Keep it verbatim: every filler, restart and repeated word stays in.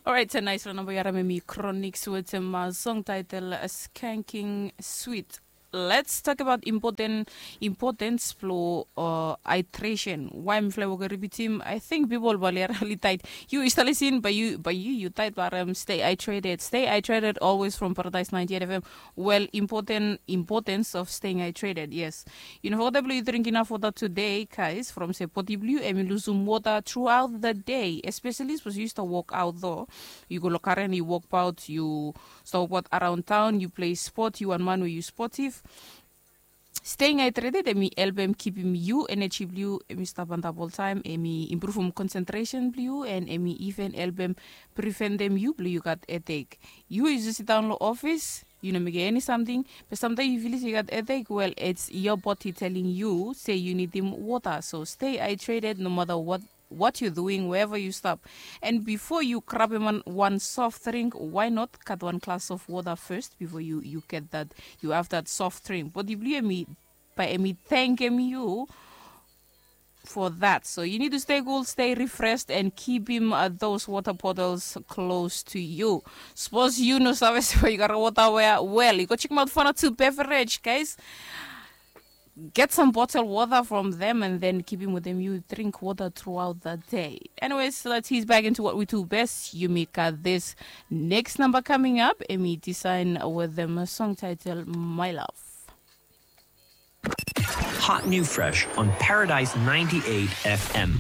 Orait, a nais ra namba yu harim em i Chronixx wetem song title Skanking Sweet. Let's talk about important importance blong uh, hydration. Why mifala wok ribitim? I think people bali are really tight. You is listening, but you but you you tight, but um, stay hydrated. Stay hydrated always from Paradise ninety-eight F M. Well, important importance of staying hydrated. Yes, you know what I believe, drink enough water today, guys. From se body blue em i losum water throughout the day, especially suppose you start work out though. You go lokaren, you work out, you stop what around town, you play sport, you one man where you sportive. Staying hydrated em i helpem kipim yu energy blong yu em i stap antap oltaem, em i impruvum concentration blong yu, and em i even helpem preventem yu blong yu gat headache. Yu yu just sit down long office, yu no mekem eni samting, but samtaem yu filis yu gat headache, well, it's your body telling you say you need him water. So stay hydrated no matter what what you're doing, wherever you stop. And before you grab him one, one soft drink, why not cut one glass of water first before you, you get that, you have that soft drink? But if you me, by me, thank him you for that. So you need to stay cool, stay refreshed, and keep him uh, those water bottles close to you. Suppose you know service where you got a water where well, you go check him out for a two beverage, guys. Get some bottled water from them and then keep him with them. You drink water throughout the day. Anyways, let's ease back into what we do best. Yumika, this next number coming up, Emi Design with them a song title My Love. Hot new fresh on Paradise ninety-eight F M.